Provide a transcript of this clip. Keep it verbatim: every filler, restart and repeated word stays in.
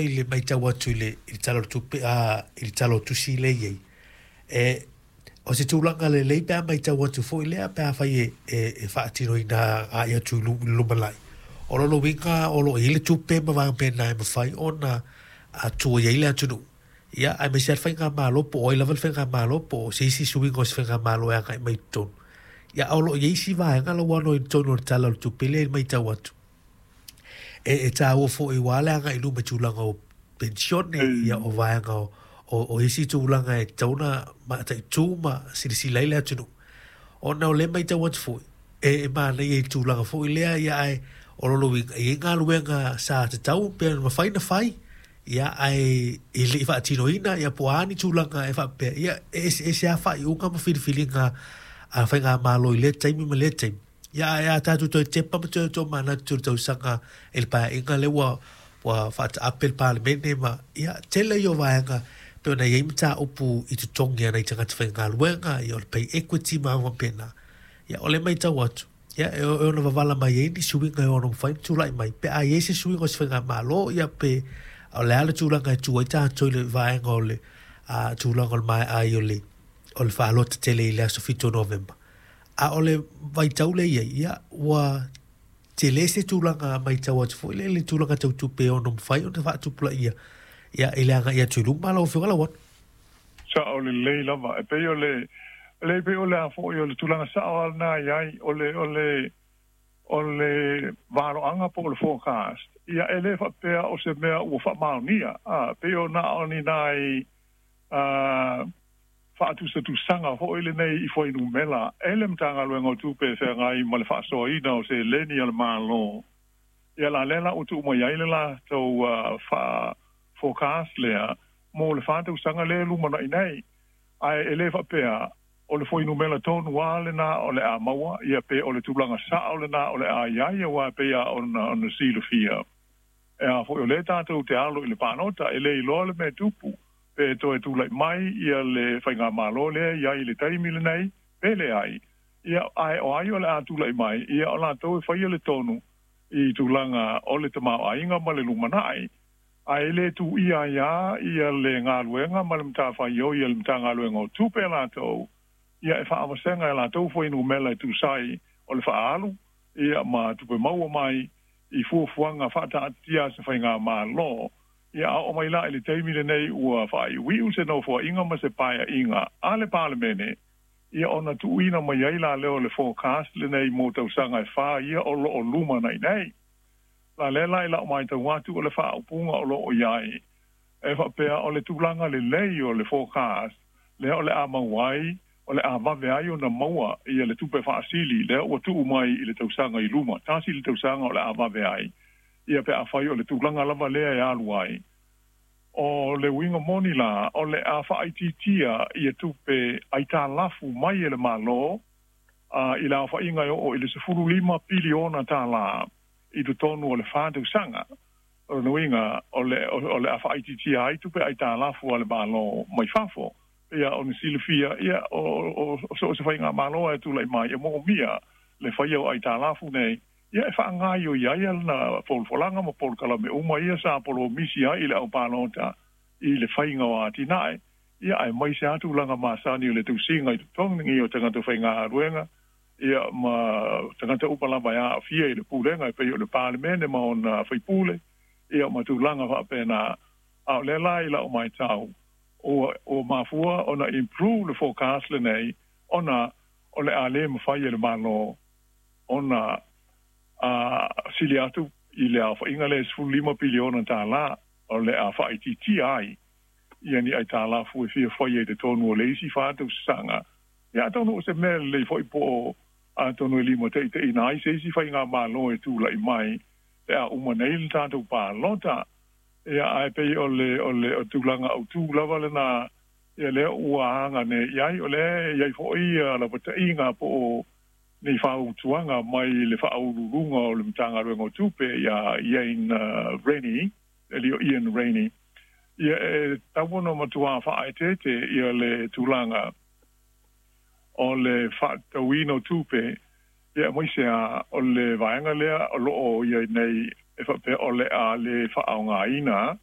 foi i le matau atu i le i le Tala o le Tupe, a i le Tala o Tusi lea e i ai. E o se tulaga lelei pe a matau atu foi lea pe afai e e, e faatinoina agai atu i le lumanai. O lona uiga o lo o i ai le tupe ma vaega pena e mafai ona tua i ai le atunuu. Ia, aemaise lava le faigamalo, po o ai lava le faigamalo, po o se isi suiga o se faigamalo e agai mai i totonu. Ia, o lo o i ai isi vaega lau ano i totonu o le Tala o le Tupe lea e matau atu. E, e tāua foi ua le agai i luma i tulaga o penisione, ia o vaega o, o, o isi tulaga e tatau ona mataitu ma silasila ai le atunuu. Ona o lea matau atu foi, e, e manaia i le tulaga foi lea, ia ae o lona uiga, e i ai galuega sa tatau pe mafai ona fai, ia ae e le i faatinoina, ia po o a ni tulaga e faapea, ia e eseese lava faaiuga ma filifiliga a faigamalo i lea taimi ma lea taimi. Ia ae a tatou toe tepa ma toe tomanatu i le tausaga i le paeaiga lea ua ua faataape le Palemene ma ia tele ia o vaega pe ona i ai mataupu i totogi a nai tagata faigaluega, ia o le pay equity ma aga faapena. Ia o le matau atu, ia e ono wavala mai ai ni suiga e ono mafai ona tulai mai pe a i ai se suiga o se faigamalo, ia pe o le a le tulaga e tu ai tatou i le vaega o le a, tulaga o le maea ai o le o le faalota tele i le aso fitu o Novema. A o le vaitau lea i ai, ia ua tele se tulaga matau atu foi le, le tulaga tau tupe e ono mafai ona faatupulaia ia i le agai atu i luma lau Afioga Lauano. Sa'o lelei lava e pei o le le pei o le a fo'i o le tulaga sa'o a lena i ai o le o le o le valoaga po o le forecast. Ia e lē faapea o se mea ua faamaonia a pei o na o ni nai a faatusatusaga fo'i lenei i fuainumela e le Matagaluega o Tupe e feagai ma le faasoaina o seleni a le Malo. Ia la lea la ua tuu mai ai le latou faa forecast lea mo le fa tausaga lea lumanaʻi nei, ae e lē faapea o le fuainumela tonu a lena o le a maua ia pe o le tulaga saʻo lena o le a iai auā pei a ona ona silafia e a foʻi o lē tatou te alo i le palota e lē iloa le mea tupu pe toe tulaʻi mai ia le faigamālō lea iai i le taimi lenei pe leai. Ia ae o ai o le a tulaʻi mai ia o latou e faia le tonu i tulaga o le tamaoaiga ma le lumanaʻi ae lē tuʻia ai a ia le galuega ma le matafaioi a le Matagaluega o Tupe latou ia e faavasega e latou fuainumela e tusai o le faaalu ia ma tupe maua mai i fuafuaga faataatitia a se faigamālō. Ia a oo mai la i le taimi lenei ua faaiuiu se nofoaʻiga ma se paeaʻiga a le Palemene, ia ona tuuina mai ai la lea o le forecast lenei mo tausaga e fā ia o loo lumanaʻi nei. La lea la i la'u matau atu o le faaupuga o loo i ai e faapea o le tulaga lelei o le forecast lea o le a mau ai o le a vave ai ona maua ia le tupe faasili lea ua tuu mai i le tausaga i luma tasi le tausaga o le a vave ai ia pe afai o le tulaga lava lea e alu ai. O le uiga moni la o le a faaitiitia ia tupe aitalafu mai e le Malo a i le aofaʻiga e oo i le sefulu lima piliona tālā i totonu o le fa tausaga. O le uiga o le o le a faaitiitia ai tupe aitalafu a le Malo mai fafo. Ia ona silafia ia o o so o se faigamālō e tulaʻi mai e moomia le faia o aitalafu nei ia e faagaoioi ai lana folafolaga ma polokalame uma ia sa polomisi ai i le aupalota i le faiga o atinae ia ae mai se atu tulaga masani o le tausiga i totogi o tagata faigaluega ia ma tagata uma lava e aafia i le pulega e pei o le Palemene ma ona faipule ia ma tulaga faapena. A o lea la i la'u matau ua ua mafua ona improve le forecast lenei ona o le a lē mafai e le Malo ona a sili atu i le aofaʻiga le sefulu lima piliona tālā o le a faaitiitia ai ia ni aitalafu e fia faia i totonu o le isi fa tausaga. Ia atonu o se mea lelei foʻi po o atonu e lima taʻitaʻina ai se isi faigamālō e tulaʻi mai e a uma nei le tatou palota. Ia ae pei o le o le o tulaga autū lava lena ia lea ua aga nei i ai o lea iai foʻi lapataʻiga po o nei fautuaga mai le faauluuluga o le Matagaluega o Tupe ia Ian Rennie e o Ian Rennie ia e tatau ona matuā faaeteete ia le tulaga o le faatatauina o tupe ia aemaise a o le vaega lea o loo ia nei e faapea o le a le faaaogāina.